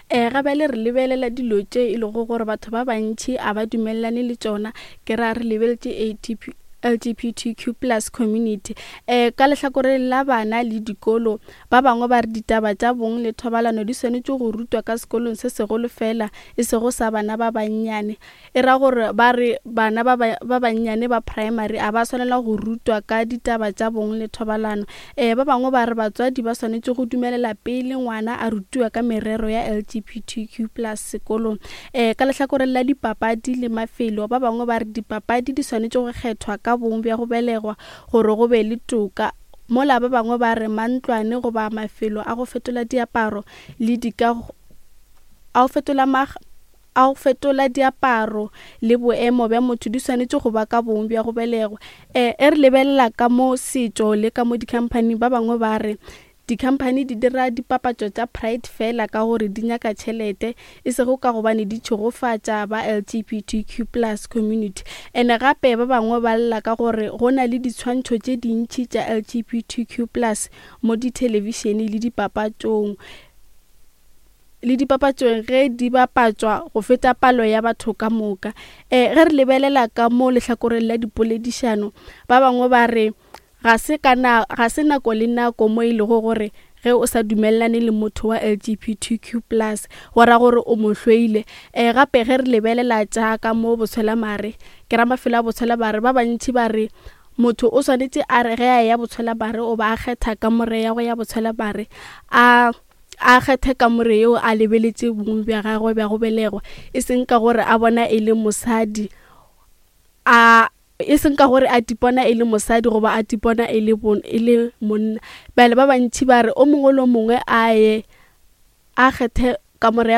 Ga bjale re lebelela dilo tše e lego gore batho ba bantši a ba dumelelane le tšona, ke ra re lebeletše ATP, LGBTQ plus community. Ka lehlakoreng la bana le dikolo, ba bangwe ba re ditaba tša bong le thobalano di swanetše go rutwa ka sekolong se segolo fela, e sego sa bana ba bannyane. E ra gore ba re bana ba ba bannyane ba primary a ba swanela go rutwa ka ditaba tša bong le thobalano. Ba bangwe ba re batswadi ba swanetše go dumelela pele ngwana a rutiwa ka merero ya LGBTQ plus sekolong. Ka lehlakoreng la dipapadi le mafelo, ba bangwe ba re dipapadi di swanetše go kgethwa ka bong bja go belegwa gore go be le toka, mola ba bangwe ba re mantlwane goba mafelo a go fetola diaparo le dika a go fetola a go fetola diaparo le boemo bja motho di swanetše go ba ka bong bja go belegwa. E re lebelela ka mo setšo le ka mo dikhamphaning, ba bangwe ba re dikhamphani di dira dipapatšo tša Pride fela ka gore di nyaka tšhelete, e sego ka gobane di tšhegofatša ba LGBTQ plus community. Ene gape ba bangwe ba lla ka gore go na le ditshwantšho tše dintši tša LGBTQ plus mo dithelebišene le dipapatšong. Le dipapatšong ge di bapatšwa go feta palo ya batho ka moka. E, ge re lebelela ka mo lehlakoreng la dipoledišano, ba bangwe ba re ga se ka na, ga se nako le nako mo e lego gore ge o sa dumelelane le motho wa LGBTQ plus go ra gore o mo hloile. E, gape ge re lebelela tša ka mo botshwelamare, ke ra mafelo a botshwelamare, ba bantši ba re motho o swanetše a re ge a eya botshwelamare o ba a kgetha kamore ya go ya botshwelamare a a kgethe kamore yeo a lebeletše bong bja gagwe bja go belegwa, e seng ka gore a bona e le mosadi, a e seng ka gore a tipona e le mosadi goba a tipona e le bon, e le monna. Bjale ba bantši ba re o mongwe le o mongwe a ye a kgethe kamore ya.